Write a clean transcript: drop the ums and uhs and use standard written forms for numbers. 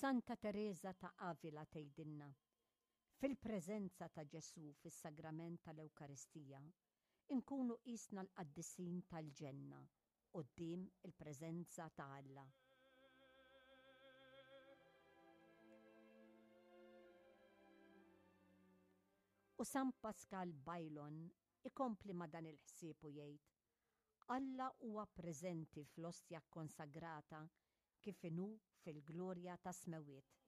Santa Tereża ta' Avila tgħidilna, Fil-preżenza ta' Ġesù fis-Sagrament tal-Ewkaristija, inkunu qisna l-qaddisin tal-ġenna quddiem il-preżenza ta' Alla. U San Pascal Baylon ikompli ma' dan il-ħsieb u jgħid, Alla huwa preżenti fl-ostja kkonsagrata kif inhu fil-glorja tas-smewwiet.